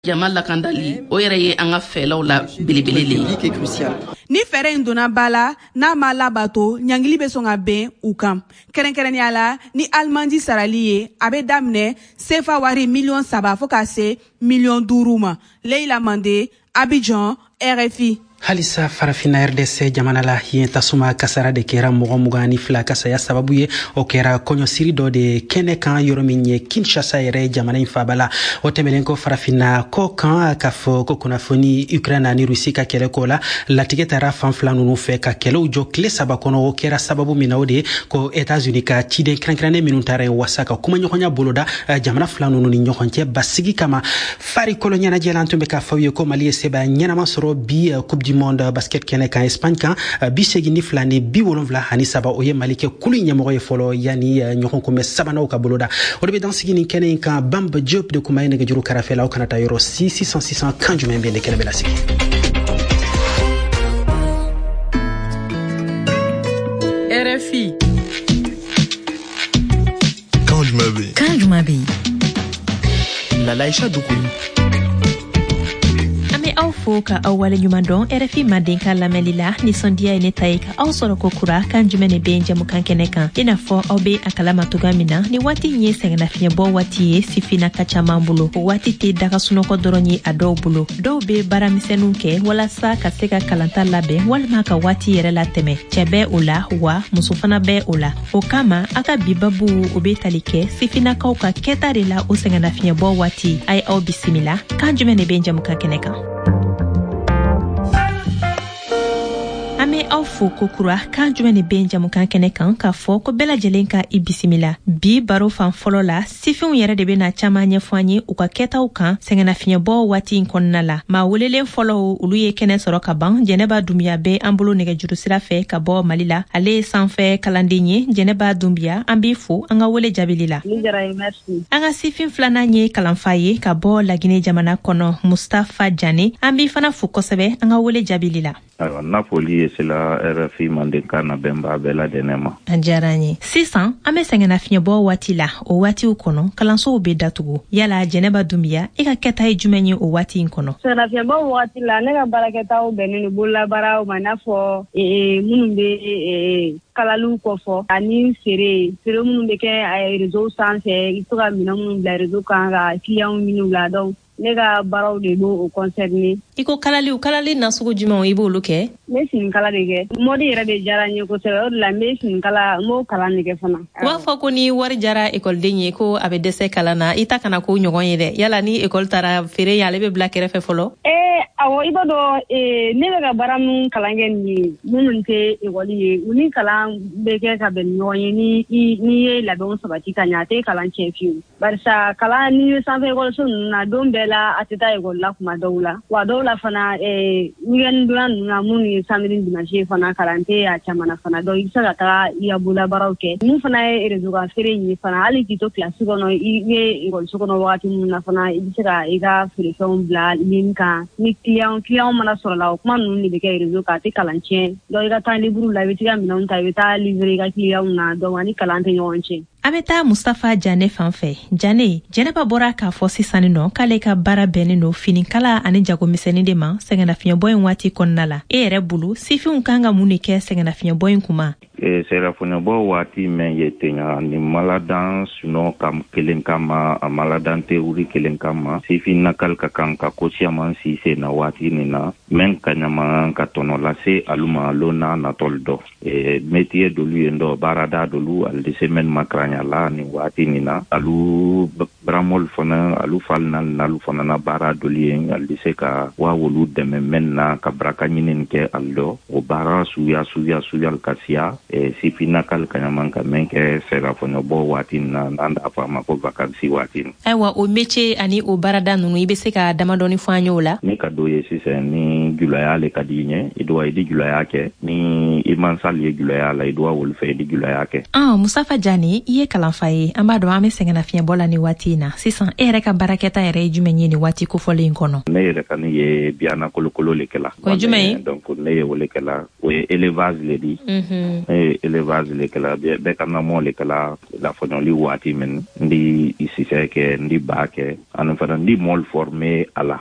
Jama lakandali, o yɛrɛ ye an ka fɛɛrɛw la belebele le ye. Ni fɛɛrɛ in donna ba la, n'a ma labato, ɲangili bɛ sɔn ka bɛn u kan, kɛrɛnkɛrɛnnenya la ni alimandi sarali ye. A bɛ daminɛ sefa wari miliyɔn 3 fo ka se miliyɔn 5 ma. Leyila Mande, Abidjan, RFI. Halisa Farafina, RDC jamana la yen, tasuma kasara de kɛra mɔgɔ 22 ka saya sababu ye. O kɛra kɔɲɔsiri dɔ de kɛnɛ kan, yɔrɔ min ye Kinshasa yɛrɛ, jamana in faba la. O tɛmɛlen kɔ, Farafina kɔ kan, k'a fɔ ko kunnafoni Ukraine ani Rusi ka kɛlɛ ko la, latigɛ taara fan fila nunu fɛ ka kɛlɛw jɔ tile 3 kɔnɔ. O kɛra sababu min na, o de ye ko Etats-Unis ka ciden kɛrɛnkɛrɛnnen minnu taara yen wasa ka kumaɲɔgɔnya boloda jamana fila nunu ni ɲɔgɔn cɛ basigi kama. Farikolo ɲɛnajɛ la, an tun bɛ k'a fɔ aw ye ko Mali ye sebaya ɲɛnama sɔrɔ bi Coupe du monde basket kɛnɛ kan Espagne kan, 82 ni 73. O ye Mali kɛ kulu ɲɛmɔgɔ ye fɔlɔ yanni ɲɔgɔn kunbɛ sabananw ka boloda. O de bɛ dan sigi nin kɛnɛ in kan. Bamba Diop de kuma ye nɛgɛjuru kɛrɛfɛ la. Aw kana taa yɔrɔ si. Sisan sisan, kan jumɛn bɛ ne kɛnɛ bɛ lasigi? RFI. Kan jumɛn bɛ yen? Kan jumɛn bɛ yen? Lalaïcha Doukouré. An bɛ aw fo ka aw waleɲuman dɔn RFI Mandenkan lamɛnli la. Nisɔndiya ye ne ta ye ka aw sɔrɔ ko kura kan jumɛn de bɛ jɛmukan kɛnɛ kan. I n'a fɔ aw be a kalama togoya min na, ni waati in ye sɛgɛnnafiɲɛbɔ waati ye sifinaka caman bolo. O waati tɛ daga sunɔgɔ dɔrɔn ye a dɔw bolo. Dɔw be baaramisɛnninw kɛ walasa ka se ka kalanta labɛn walima ka waati yɛrɛ latɛmɛ. Cɛɛ bɛ o la wa, muso fana bɛ o la. O kama, a ka bi babu, o be tali kɛ sifinnakaw ka kɛta de la o sɛgɛnnafiɲɛbɔ waati. A ye aw bisimila kan jumɛn de bɛ jɛmukan kɛnɛ kan. An bɛ aw fo kokura kan jumɛn de bɛ jamukan kɛnɛ kan, k'a fɔ ko bɛɛ lajɛlen ka i bisimila. Bi baro fan fɔlɔ la, sifinw yɛrɛ de bɛna caaman ɲɛfɔ an ye u ka kɛtaw kan sɛgɛnnafiɲɛbɔ waati in kɔnɔna la. Maa welelen fɔlɔw, olu ye kɛnɛ sɔrɔ ka ban. Jɛnɛba Dunbiya bɛ an bolo nɛgɛjuru sira fɛ ka bɔ Mali la. Ale ye sanfɛ kalanden ye. Jɛnɛba Dunbiya, an b'i fo an ka wele jaabili la. An ka sifin filanan ye kalanfa ye ka bɔ Lagine jamana kɔnɔ, Mustafa Jane. An b'i fana fo kosɛbɛ an ka wele jaabili la. Ayiwa, n'a foli ye sela RFI Mandenkan na bɛnba bɛɛ ladɛnɛ ma. A diyara an ye. Sisan an bɛ sɛgɛnnafiɲɛbɔ waati la. O waatiw kɔnɔ, kalansow bɛ datugu. Yala Jɛnɛba Dunbiya, e ka kɛta ye jumɛn ye o waati in kɔnɔ? Sɛgɛnnafiɲɛbɔ waati la, ne ka baarakɛtaw bɛnnen don bololabaaraw ma, i n'a fɔ minnu bɛ kalaliw kɔfɔ ani feere feere minnu bɛ kɛ réseau sanfɛ. I bɛ to ka minɛn minnu bila réseau kan ka clients ɲini u la. Donc ne ka baaraw de b'o concerné. I ko kalaliw, kalali nasugu jumɛnw i b'olu kɛ? N bɛ finikala de kɛ. Mode yɛrɛ de diyara n ye kosɛbɛ, o de la n bɛ finikala, n b'o kalan de kɛ fana. U b'a fɔ ko ni wari jara ekɔliden ye, ko a bɛ dɛsɛ kalan na. I ta kana k'o ɲɔgɔn ye dɛ. Yala ni ekɔli taara, feere ye, ale bɛ bila kɛrɛfɛ fɔlɔ? Ee awɔ, i b'a dɔn, ne bɛ ka baara min kalan kɛ nin ye, minnu tɛ ekɔli ye, u ni kalan bɛ kɛ ka bɛn ni ɲɔgɔn ye. Ni n'i ye labɛnw sabati ka ɲɛ, a tɛ kalan tiɲɛ fiyewu, barisa kalan, n'i bɛ sanfɛ ekɔliso ninnu na, don bɛɛ la a tɛ taa ekɔli la kuma dɔw la. Wa dɔw la fana, weekend donya ninnu na, minnu ye samedi ni dimanche ye fana, kalan tɛ a caman na fana. Donc i bɛ se ka taga i ka bololabaaraw kɛ. Mun fana ye réseau kan feere in ye fana, hali k'i to kilasi kɔnɔ, i bɛ ekɔliso kɔnɔ wagati minnu na fana, i bɛ se ka i ka feerefɛnw bila ligne kan. Ni client mana sɔrɔ la, o kuma ninnu de bɛ kɛ réseau kan, a tɛ kalan tiɲɛ. Donc i ka temps libre la, i bɛ t'i ka minɛnw ta, i bɛ taa livrer i ka client na. Donc ani kalan tɛ ɲɔgɔn cɛ. An bɛ taa Mustafa Jane fan fɛ. Jane, Jɛnɛba bɔra k'a fɔ sisan nɔ k'ale ka baara bɛnnen don finikala ani jagomisɛnnin de ma sɛgɛnnafiɲɛbɔ in waati kɔnɔna la. E yɛrɛ bolo, sifinw kan ka mun de kɛ sɛgɛnnafiɲɛbɔ in kuma? Sɛgɛnnafiɲɛbɔ waati mɛn ye ten, ni maladan sunɔ kam kelen kama, a maladan théorie kelen kama, sifinnakal ka kan ka ko siyaman si sen na waati nin na mɛn ka ɲama ka tɔnɔ lase alu ma lon n'a natɔli dɔ. Métier dolu yen dɔ, baarada dolu, ali di se mɛn makaranya la nin waati nin na. Alu baramɔli fana, alu fali nalu fana na baara dolu ye, ali di se ka wa wolu dɛmɛ mɛn na ka baraka ɲini kɛ ali dɔ. O baara suya suya suyal ka siya, sifinnakal ka ɲaman ka mɛn kɛ sɛgɛnnafiɲɛbɔ waati nin na, n'an d'a fɔ a ma ko vacances waati nin. Ayiwa, o métier ani o baarada ninnu, i bɛ se ka damadɔni fɔ an ye o la? Ne ka do ye sisan, ni julaya le ka di i ɲɛ, i dowa i di julaya kɛ. Ni i mansali ye julaya la, i dowa wolu fɛ, i di julaya kɛ. Ah, Mustafa Jane, i I ye kalanfa ye, an b'a dɔn an be sɛgɛnnafiɲɛbɔ la ni waati in na. Sisan, e yɛrɛ ka baarakɛta yɛrɛ ye jumɛn ye ni waati kofɔlen in kɔnɔ? Ne yɛrɛ kani ye biyana kolokolo le kɛla. O ye jumɛn ye? Donc ne ye o le kɛla, o ye élevage le di. Ne ye élevage le kɛla, bɛɛ ka namɔ le kɛla lafɔɲɔli waati min. N di sisɛ kɛ, n di ba kɛ, ani fana n di mɔɔlu former a la.